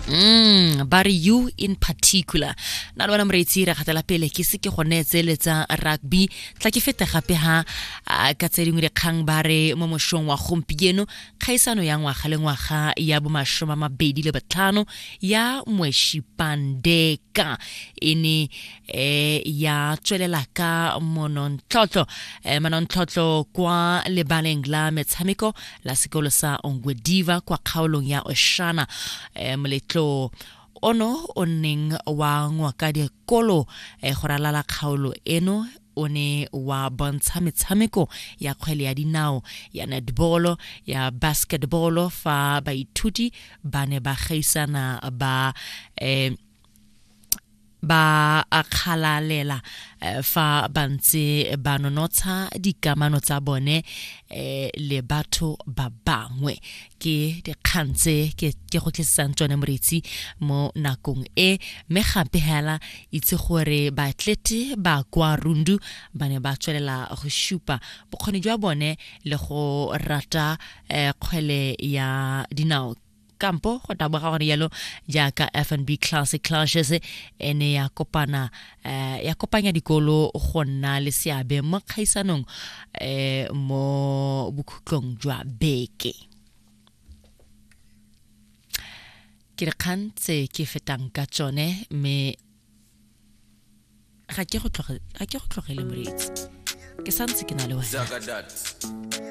Ba re you in particular. Na le wena moreetsi, re gatela pele ke se ke go neetseletsa rugby. Tla ke fete gape ha ka tse dingwe dikgang. Ba re mo mošong wa gompieno, kgaisano ya ngwaga le ngwaga ya bomashome a mabedi le botlhano ya Mweshipandeka e ne ya tswelela ka monontlhotlho manontlhotlho kwa lebaleng la metshameko la sekolo sa Ongwediva kwa kgaolong ya Oshana. Moletlo ono o neng wa ngwaka dikolo go ralala kgaolo eno o ne wa bontsha metshameko ya kgwele ya dinao, ya netball, ya basketball, fa baithuti ba ne ba gaisana, ba akgalalela fa ba ntse ba nonotsha dikamano tsa bone le batho ba bangwe. Ke dikgang tse ke go tlisetsang tsone, moretsi, mo nakong e. Mme gape hela itse gore baatlete ba kwa Rundu ba ne ba tswelela go supa bokgoni jwa bone le go rata kgwele ya dinao kampo go taboga gore yalo, jaaka FNB Classic Clashes e ne ya kopana ya kopanya dikolo go nna le seabe mo kgaisanong mo bokhutlong jwa beke. Ke dikgang tse ke fetang ka tsone, mme ga ke go tlogele, moreetsi, ke santse ke na le wena. Zagadat.